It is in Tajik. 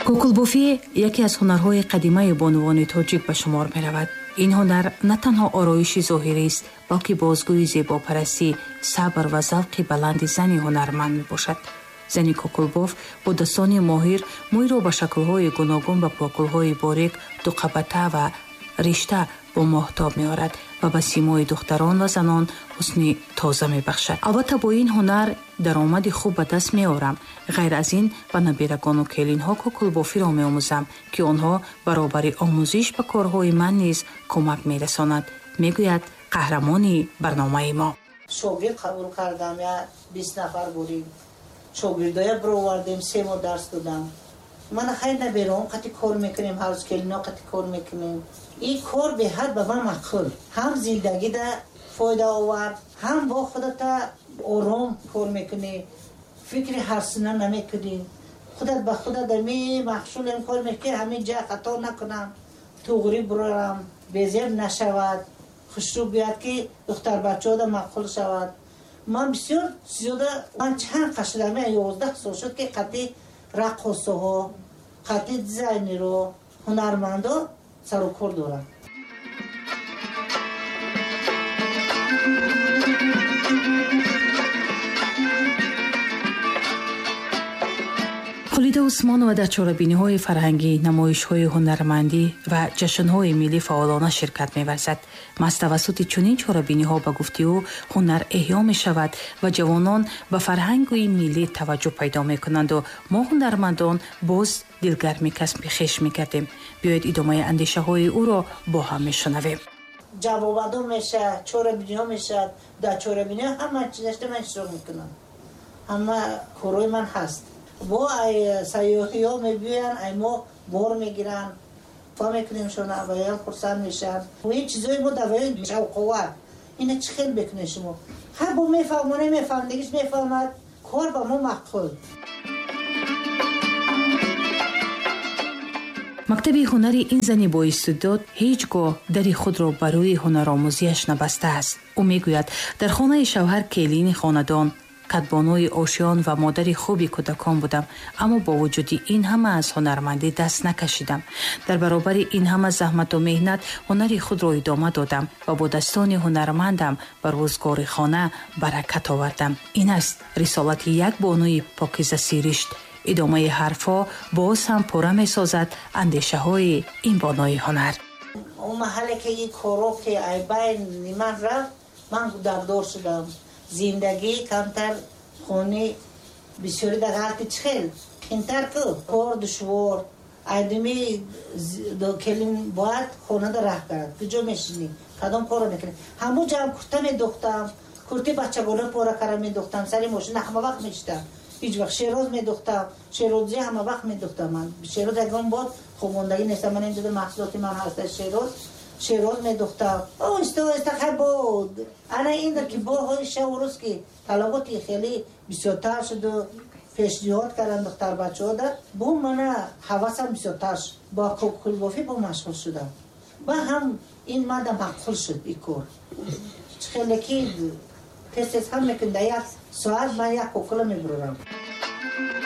Кӯкулбофӣ яке аз ҳунарҳои қадимаи бонувони тоҷик ба шумор меравад. Ин ҳунар на танҳо ороиши зоҳирист, балки бозгӯи зебопарастӣ, сабр ва завқи баланди зани ҳунарманд мебошад. Зани кӯкулбоф бо дастони моҳир мӯйро ба шаклҳои гуногун, ба покулҳои борик, дуқабата ва ришта бо моҳтоб меорад ва ба симои духтарон ва занон ҳусни тоза мебахшад. Албатта, бо ин ҳунар даромади хуб ба даст меорам. Ғайр аз ин, ба набирагону келинҳо кӯкулбофиро меомӯзам, ки онҳо баробари омӯзиш ба корҳои ман низ кӯмак мерасонанд, мегӯяд қаҳрамони барномаи мо. Шогирд қабул кардам, я 20 нафар бурим. Шогирдоя бировардем, 3 моҳ дарс додам. Мана хайр, набером қати кор мекунем, ҳар рӯз келино қати кор мекунем. Ин кор беҳад ба ман маъқул, ҳам зиндагида фоидаовар, ҳам бо худата ором кор мекунӣ, фикри ҳарсина намекунӣ, худат ба худат ами маҳсулем кор мекунӣ, ҳамин ҷа хато накунам, туғрӣ бурарам, безеб нашавад, хушрӯ биёяд, ки духтарбачаҳода маъқул шавад. Ман бисёр зиёда, ман чанд қашидам, 11 сол шуд, ки қати раққосаҳо, қати дизайнеро, ҳунармандо сарукор дорам. Хулида Усмонова дар чорабиниҳои фарҳангӣ, намоишҳои ҳунармандӣ ва ҷашнҳои миллӣ фаъолона ширкат меварзад. Маҳз тавассути чунин чорабиниҳо, ба гуфти ӯ, ҳунар эҳё мешавад ва ҷавонон ба фарҳанги миллӣ таваҷҷӯҳ пайдо мекунанду мо, ҳунармандон, боз дилгарми касби хеш мегардем. Биёед, идомаи андешаҳои ӯро бо ҳам мешунавем. Ҷавобадо мешавад, чорабиниҳо мешавад. Дар чорабиниҳо ҳама чизашта ман иштирок мекунам, ҳама корҳои ман ҳаст. Бо ай сайёҳиҳо мебиёянд, ай мо бор мегиранд, фа мекунем шона, ваям хурсанд мешаванд. Ин чизои мо дар ваён шавқовар. Ина чӣ хел мекунед шумо? Ҳар бо мефаҳмоне, мефаҳмдагиш мефаҳмад. Кор ба мо маъқул. Мактаби ҳунари ин зани боистеъдод ҳеҷ гоҳ дари худро ба рӯи ҳунаромӯзиаш набастааст. Ӯ мегӯяд, дар хонаи шавҳар келини хонадон, кадбонуи ошиён ва модари хуби кӯдакон будам, аммо бо вуҷуди ин ҳама аз ҳунармандӣ даст накашидам. Дар баробари ин ҳама заҳмату меҳнат ҳунари худро идома додам ва бо дастони ҳунармандам ба рӯзгори хона баракат овардам. Ин аст рисолати як бонуи покизасиришт. Идомаи ҳарфҳо боз ҳам пурра месозад андешаҳои ин бонуи ҳунар. Он маҳалле ки ин коро ки ай байни ман рафт, ман дардор шудам. Зиндагӣ камтар, хони бисёри дар ғалти чихел қинтар ку, кор душвор. Айдими келин бояд хонада раҳ кард. Куҷо мешинӣ, кадом корро мекунӣ? Ҳамун ҷам курта медухтам, курти бачагона пора кара медухтам, сари мошина ҳама вақт мешитам. Ҳеҷ вақт шероз медухтам, шерозӣ ҳама вақт медухтам. Ман шероз ягон бор хобондагӣ нестам. Ман инҷода маҳсулоти ман ҳаста, шероз, шероз медухтам оҳиста оҳиста. Хай, бо ана ин ки бо ҳои шаву рӯз ки талаботи хеле бисёртар шуду пешниҳод карданд духтарбачаҳода, бо мана ҳавасам бисёртар шуд, бо кӯкулбофӣ бо машғул шудам. Ба ҳам ин мада маъқул шуд ин кор. Хеле ки тез тез ҳам мекунӣ, дар як соат ман як кӯкула мебурам.